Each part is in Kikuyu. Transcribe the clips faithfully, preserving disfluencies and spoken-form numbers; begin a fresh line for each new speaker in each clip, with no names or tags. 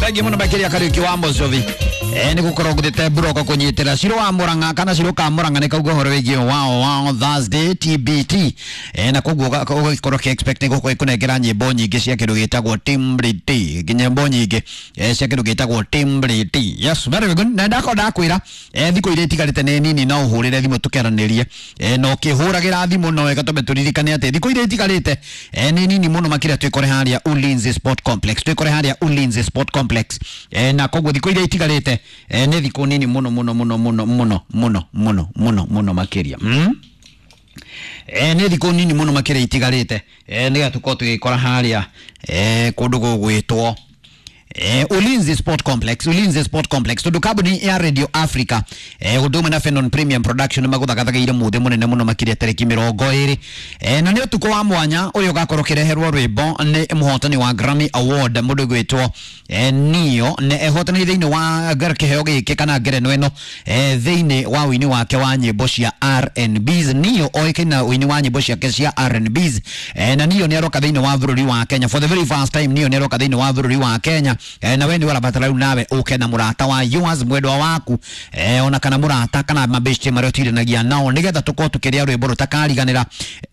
Thengi muno makiria Kariuki wa Mucobi. Eh ni gukorwo nguthite mburoko kunyitira Ciro wa Murang'a kana Ciro ka Murang'a ni kauga horo wigie wao wao Thursday T B T. Eh na koguo ugakorwo ki expect ni gukorwo ikunengera nyimbo nyingi cia kindu gitagwo Timbre T, nyimbo nyingi eh cia kindu gitagwo Timbre T. Yes, very good. Na ndako ndakwira eh thiku iria itigarite ni nini no uhurire thimu tukeranirie. Eh no kihuragira thimu no wega tumbe turirikane ati thiku iria itigarite eh ni nini muno makiria twikore haria Ulinzi Sport Complex, twikore haria Ulinzi Sport Complex. Eh na koguo thiku iria itigarite eh ni thiku nini muno muno muno muno muno muno muno muno muno makiria. Mm? Eh ni thiku nini muno makiria itigarite eh nigetha tukorwo tugikora haria eh kundu gugwitwo Eh, Ulinzi Sport Complex, Ulinzi Sport Complex tondu kambuni ya Radio Africa eh undu na Fenon Premium Production maguthagathageire muthe munene muno makiria tariki mirongo iri eh na ni utuku wa mwanya uria ugakorwo kireherwo rwimbo ni muhotani wa Grammy Award mundu gwitwo eh Nio ne ehotani thiini wa kiheo giki kana ngerenwa ino eh thiini wa wini wake wa nyimbo cia R and Bs. Nio oikaine na wini wa nyimbo ciake cia R and Bs eh na Nio ni aroka thiini wa bururi wa Kenya for the very first time. Nio ni aroka thiini wa bururi wa Kenya eh na we ni ũrabatara rĩu nawe ũke na mũrata wa yours mwendwa waku eh ona kana mũrata kana mabeshte marĩa ũtiranagia nao nĩgetha tũkorwo tũkĩrĩa rwĩmbo rũtakariganĩra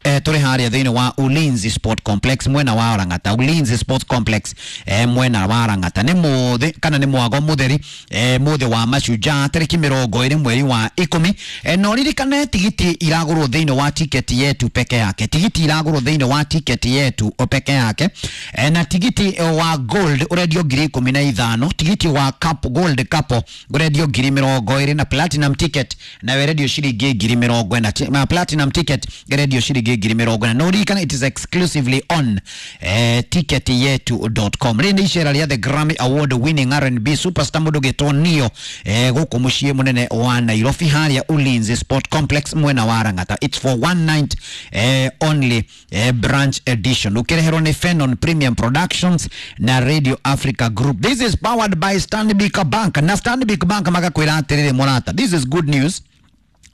eh tũrĩ harĩa thĩinĩ wa Ulinzi Sport Complex mwena wa Lang'ata. Ulinzi Sport Complex eh mwena wa Lang'ata nĩ mũthĩ kana nĩ mwago mũtheri eh mũthĩ wa mashujaa tarĩki mĩrongo ĩrĩ mweri wa ikũmi eh no ririkane tigiti iragũrwo thĩinĩ wa tiketi yetu peke yake, tigiti iragũrwo thĩinĩ wa tiketi yetu peke yake eh na tigiti wa gold ũrendio ngiri ikumi na ithano, tigiti wa cup gold cup urendio ngiri mirongo iri na platinum ticket na werendio ciringi ngiri mirongo ina na platinum ticket urendio ciringi ngiri mirongo ina. No ririkana it is exclusively on eh, ticket yetu dot com. Rĩ nĩ icera rĩa the Grammy Award winning R and B superstar mũndũ gĩtwo Nio eh, gũkũ mũciĩ mũnene wa Nairobi haria Ulinzi Sport Complex mwena wa Lang'ata. It's for one night eh, only eh, branch edition ukireherwo nĩ Fenon Premium Productions na Radio Africa Group. This is powered by Stanbic Bank na Stanbic Bank magakwira atiriri murata, this is good news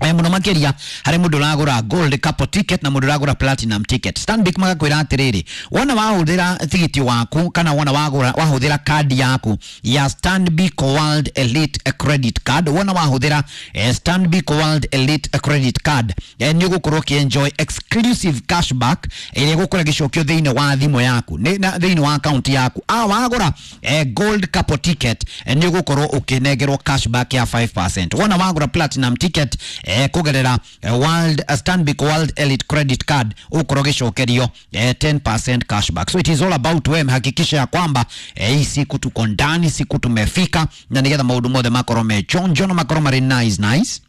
eh muno makiria hari mundu uragura gold couple ticket na mundu uragura platinum ticket. Stanbic magakwira atiriri wona wahuthira tigiti waku kana wona wagura wahuthira kadi yaku ya Stanbic World Elite Credit Card, wona wahuthira eh, Stanbic World Elite Credit Card eh, ni ugukorwo ukienjoy exclusive cashback ĩrĩa ĩgũkorwo ĩgĩcokio thĩinĩ wa thimũ yaku na thĩinĩ wa account yaku. A wagura eh, gold couple ticket eh, ni ugukorwo ukinengerwo cashback ya five percent. Wona wagura platinum ticket eh, kugerera eh, World uh, Stanbic World Elite Credit Card ukorwo gicokerio eh, ten percent cashback. So it is all about we hakikisha ya kwamba eh, hii siku tuko ndani, siku tumefika na nigetha maundu mothe makorwo me chonjo na makorwo mari nice nice.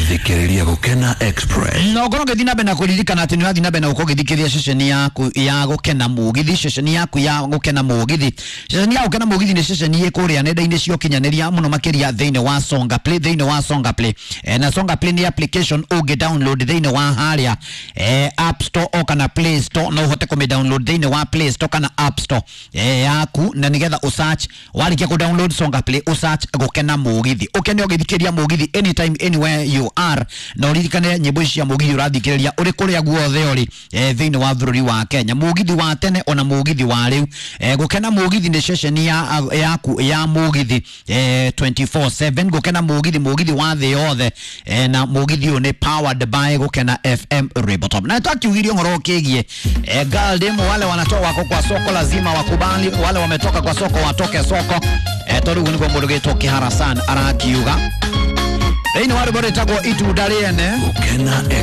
Thikiriria Gukena Express
no ngorwo ngĩthiĩ na mbere na kũririkana atĩ nĩ ũrathiĩ na mbere na gũkorwo ũgĩthikĩrĩria ceceni yaku ya Gukena Mũgithi, ceceni yaku ya Gukena Mũgithi. Ceceni ya Gukena Mũgithi nĩ ceceni ĩ kũrĩa nenda-inĩ cia ũkinyanĩria mũno makĩria thĩinĩ wa Songa Play, thĩinĩ wa Songa Play e, na Songa Play nĩ application ũngĩ download thĩinĩ wa harĩa e, App Store o kana Play Store, no ũhote kũmĩ download thĩinĩ wa Play Store kana App Store e, yaku na nĩgetha ũsearch warĩkia kũ download Songa Play ũsearch Gukena Mũgithi ũkene ũgĩthikĩrĩria Mũgithi anytime anywhere you are na uririkane nyimbo cia mugithi urathikiriria uri kuria guothe uri eh, thiini wa bururi wa Kenya, mugithi wa tene ona mugithi wa riu eh, Gukena Mugithi ni ceceni ya yaku ya mugithi eh, twenty-four seven. Gukena Mugithi mugithi wa thi yothe eh, na mugithi uyu ni powered by Gukena F M Ribotop. Na twakiugirio ngoro kigie eh, Galdem wale wanatoka wako kwa soko lazima wakubali, wale wametoka kwa soko watoke soko eh, tondu niguo mundu gitwo Kihara San arakiuga thĩinĩ wa rwĩmbo rwĩtagwo Itunda Rĩene.
Gukena